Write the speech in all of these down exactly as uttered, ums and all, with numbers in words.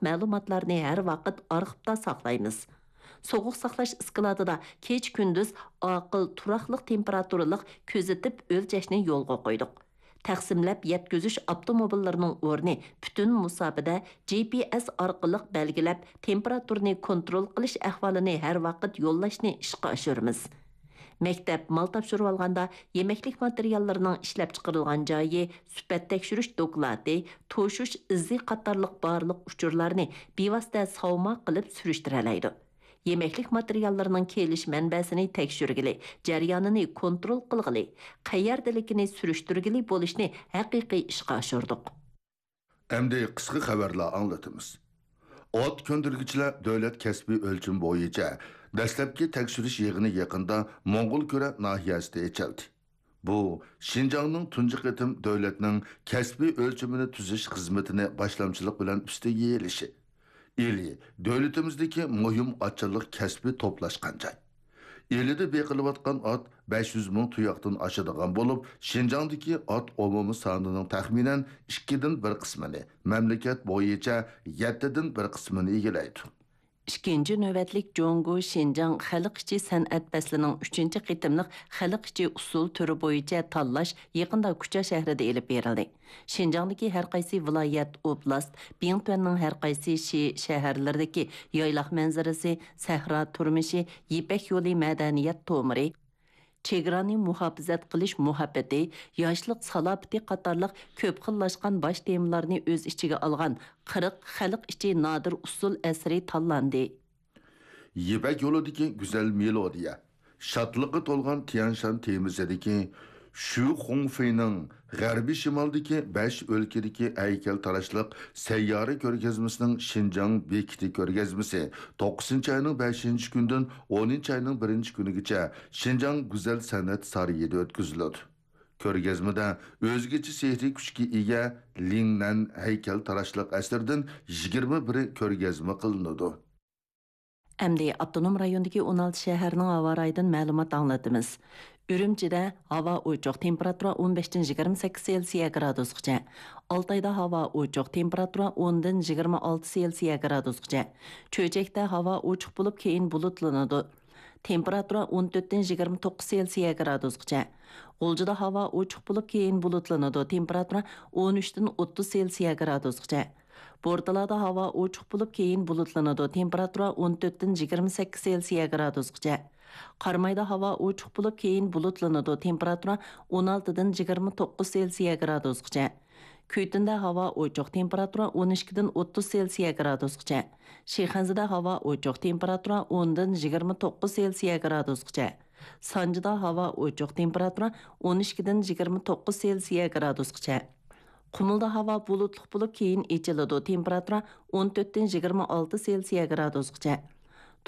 مەلۇماتلارنى ھەر ۋاقىت ئارخىپتا ساقلايمىز. سوغۇق ساقلاش ئىسكىلاتىدا كېچە-كۈندۈز ئاقىل، تۇراقلىق تېمپېراتۇرىلىق كۆزىتىپ ئۆلچەشنى يولغا قويدۇق. تەقسىملەپ يەتكۈزۈش ئاپتوموبىللىرىنىڭ ئورنى پۈتۈن مۇساپىدە جى پى ئېس ئارقىلىق بەلگىلەپ، تېمپېراتۇرىنى كونترول قىلىش ئەھۋالىنى ھەر ۋاقىت يوللاشنى ئىشقا ئاشۇرىمىز. مەكتەپ مال تاپشۇرۇۋالغاندا يېمەكلىك ماتېرىياللىرىنىڭ ئىشلەپچىقىرىلغان جايى، سۈپەت تەكشۈرۈش دوكلاتى، توشۇش ئىزى قاتارلىق بارلىق ئۇچۇرلارنى بىۋاسىتە ساۋما قىلىپ سۈرۈشتۈرەلەيدۇ. يېمەكلىك ماتېرىياللىرىنىڭ كېلىش مەنبەسىنى تەكشۈرگىلى، جەريانىنى كونترول قىلغىلى، قەيەردىلىكىنى سۈرۈشتۈرگىلى بولۇشنى ھەقىقىي ئىشقا ئاشۇردۇق. ئەمدى قىسقا خەۋەرلەر ئاڭلىتىمىز. ئات كۆندۈرگۈچىلەر دۆلەت كەسپىي ئۆلچىمى بويىچە دەسلەپكى تەكشۈرۈش يىغىنى يېقىندا موڭغۇلكۈرە ناھىيەسىدە ئېچىلدى. بۇ شىنجاڭنىڭ تۇنجى قېتىم دۆلەتنىڭ كەسپىي ئۆلچىمىنى تۈزۈش خىزمىتىنى باشلامچىلىق بىلەن ئۈستىگە ئېلىشى. ئىلى دۆلىتىمىزدىكى مۇھىم ئاتچىلىق كەسپى توپلاشقان جاي. ئىلىدە بېقىلىۋاتقان ئات بەش يۈز مىڭ تۇياقتىن ئاشىدىغان بولۇپ، شىنجاڭدىكى ئات ئومۇمىي سانىنىڭ تەخمىنەن ئىككىدىن بىر قىسمىنى، مەملىكەت بويىچە يەتتىدىن بىر قىسمىنى ئىگىلەيدۇ. ئىككىنچى نۆۋەتلىك جۇڭگو شىنجاڭ خەلق ئىچى سەنئەت پەسلىنىڭ ئۈچىنچى قېتىملىق خەلق ئىچى ئۇسسۇل تۈرى بويىچە تاللاش يېقىندا كۇچا شەھىرىدە ئېلىپ بېرىلدى. شىنجاڭدىكى ھەر قايسى ۋىلايەت، ئوبلاست، بىڭتۈەننىڭ ھەر قايسى شى-، شەھەرلىرىدىكى يايلاق مەنزىرىسى، سەھرا تۇرمۇشى، يىپەك يولى مەدەنىيەت تومۇرى، چېگرانى مۇھاپىزەت قىلىش مۇھەببىتى، ياشلىق سالاپىتى قاتارلىق كۆپ خىللاشقان باش تېمىلارنى ئۆز ئىچىگە ئالغان قىرىق خەلق ئىچى نادىر ئۇسسۇل ئەسىرى تاللاندى. يىپەك يولىدىكى گۈزەل مېلودىيە، شادلىققا تولغان تيەنشان تېمىسىدىكى شۈ خۇڭفېينىڭ غەربىي شىمالدىكى بەش ئۆلكىدىكى ھەيكەلتىراشلىق سەييارە كۆرگەزمىسىنىڭ شىنجاڭ بېكىتى كۆرگەزمىسى توققۇزىنچى ئاينىڭ بەشىنچى كۈنىدىن ئونىنچى ئاينىڭ بىرىنچى كۈنىگىچە شىنجاڭ گۈزەل سەنئەت سارىيىدا ئۆتكۈزۈلىدۇ. كۆرگەزمىدە ئۆزگىچە سېھرىي كۈچكە ئىگە لىڭنەن ھەيكەلتىراشلىق ئەسىرىدىن يىگىرمە بىرى كۆرگەزمە قىلىنىدۇ. ئەمدى ئاپتونوم رايوندىكى ئون ئالتە شەھەرنىڭ ھاۋا رايىدىن مەلۇمات ئاڭلىتىمىز. ئۈرۈمچىدە ھاۋا ئوچۇق، تېمپېراتۇرا ئون بەشتىن يىگىرمە سەككىز سېلسىيە گرادۇسقىچە. ئالتايدا ھاۋا ئوچۇق، تېمپېراتۇرا ئوندىن يىگىرمە ئالتە سېلسىيە گرادۇسقىچە. چۆچەكتە ھاۋا ئوچۇق بولۇپ، كېيىن بۇلۇتلىنىدۇ. تېمپېراتۇرا ئون تۆتتىن يىگىرمە توققۇز سېلسىيە گرادۇسقىچە. غۇلجىدا ھاۋا ئوچۇق بولۇپ، كېيىن بۇلۇتلىنىدۇ. تېمپېراتۇرا ئون ئۈچتىن ئوتتۇز سېلسىيە گرادۇسقىچە. بورتالادا ھاۋا ئوچۇق بولۇپ، كېيىن بۇلۇتلىنىدۇ. تېمپېراتۇرا ئون تۆتتىن يىگىرمە سەككىز سېلسىيە گرادۇسقىچە. قارامايدا ھاۋا ئوچۇق بولۇپ، كېيىن بۇلۇتلىنىدۇ. تېمپېراتۇرا ئون ئالتىدىن يىگىرمە توققۇز سېلسىيە گرادۇسقىچە. كۈيتۈندە ھاۋا ئوچۇق، تېمپېراتۇرا ئون ئىككىدىن ئوتتۇز سېلسىيە گرادۇسقىچە. شىخەنزىدە ھاۋا ئوچۇق، تېمپېراتۇرا ئوندىن يىگىرمە توققۇز سېلسىيە گرادۇسقىچە. سانجىدا ھاۋا ئوچۇق، تېمپېراتۇرا ئون ئىككىدىن يىگىرمە توققۇز سېلسىيە گرادۇسقىچە. قۇمۇلدا ھاۋا بۇلۇتلۇق بولۇپ، كېيىن ئېچىلىدۇ، تېمپېراتۇرا ئون تۆتتىن يىگىرمە ئالتە سېلسىيە گرادۇسقىچە.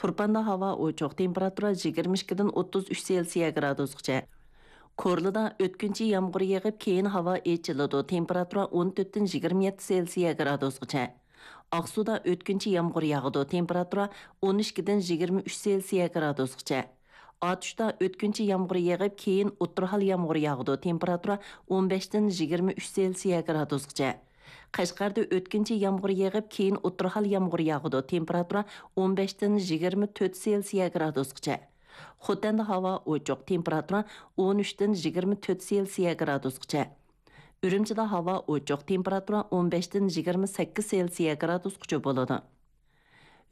تۇرپاندا ھاۋا ئوچۇق، تېمپېراتۇرا يىگىرمە ئىككىدىن ئوتتۇز ئۈچ سېلسىيە گرادۇسقىچە. كورلىدا ئۆتكۈنچى يامغۇر يېغىپ، كېيىن ھاۋا ئېچىلىدۇ، تېمپېراتۇرا ئون تۆتتىن يىگىرمە يەتتە سېلسىيە گرادۇسقىچە. ئاقسۇدا ئۆتكۈنچى يامغۇر ياغىدۇ، تېمپېراتۇرا ئون ئىككىدىن يىگىرمە ئۈچ سېلسىيە گرادۇسقىچە. ئاتۇشتا ئۆتكۈنچى يامغۇر يېغىپ، كېيىن ئوتتۇرا ھال يامغۇر ياغىدۇ، تېمپېراتۇرا ئون بەشتىن يىگىرمە ئۈچ سېلسىيە گرادۇسقىچە. قەشقەردە ئۆتكۈنچى يامغۇر يېغىپ، كېيىن ئوتتۇرا ھال يامغۇر ياغىدۇ، تېمپېراتۇرا ئون بەشتىن يىگىرمە تۆت سېلسىيە گرادۇسقىچە. خوتەندە ھاۋا ئوچۇق، تېمپېراتۇرا ئون ئۈچتىن يىگىرمە تۆت سېلسىيە گرادۇسقىچە. ئۈرۈمچىدە ھاۋا ئوچۇق، تېمپېراتۇرا ئون بەشتىن يىگىرمە سەككىز سېلسىيە گرادۇسقىچە بولىدۇ.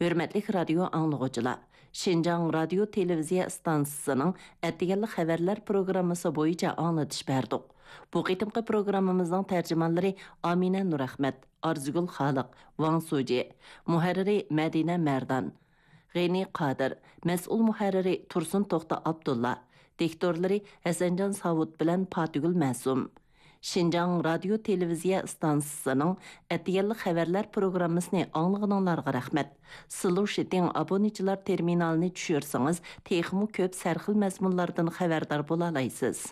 ھۆرمەتلىك رادىيو ئاڭلىغۇچىلار، شىنجاڭ رادىيو تېلېۋىزىيە ئىستانسىسىنىڭ ئەتىگەنلىك خەۋەرلەر پروگراممىسى بويىچە ئاڭلىتىش بەردۇق. بۇ قېتىمقى پروگراممىمىزنىڭ تەرجىمانلىرى ئامىنە نۇرئەخمەت، ئارزۇگۈل خالىق، ۋاڭ سۇجى، مۇھەررىرى مەدىنە مەردان، غېنى قادىر، مەسئۇل مۇھەررىرى تۇرسۇن توختى ئابدۇللا، دىكتورلىرى ھەسەنجان ساۋۇت بىلەن پاتىگۈل مەسۇم. شىنجاڭ رادىيو تېلېۋىزىيە ئىستانسىسىنىڭ ئەتىگەنلىك خەۋەرلەر پروگراممىسىنى ئاڭلىغىنىڭلارغا رەھمەت. سىلۇشىتىڭ ئابۇنىچىلار تېرمىنالىنى چۈشۈرسىڭىز، تېخىمۇ كۆپ سەرخىل مەزمۇنلاردىن خەۋەردار بولالايسىز.